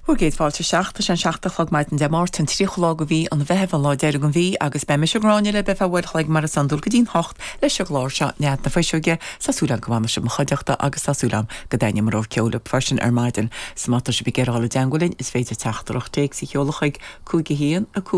Bhur gcéad fáilte isteach. Tá sé an 7 a chlog maidin Dé Máirt, an 30ú lá de mhí an Mheithimh, an lá deiridh den mhí, agus beidh mise Gráinne libh ar feadh uair a chloig mar is iondúil go dtí'n hocht leis an gclár seo Nead na Fuiseoige. Tá súil agam go bhfanfaidh sibh mo chuideachta agus tá súil agam go dtaitneoidh mo rogha ceoil libh freisin ar maidin. 'S má tá sibh ag iarraidh dul i dteangmháil linn is féidir teachtaireacht téacs a sheoladh chuig 5 1 5.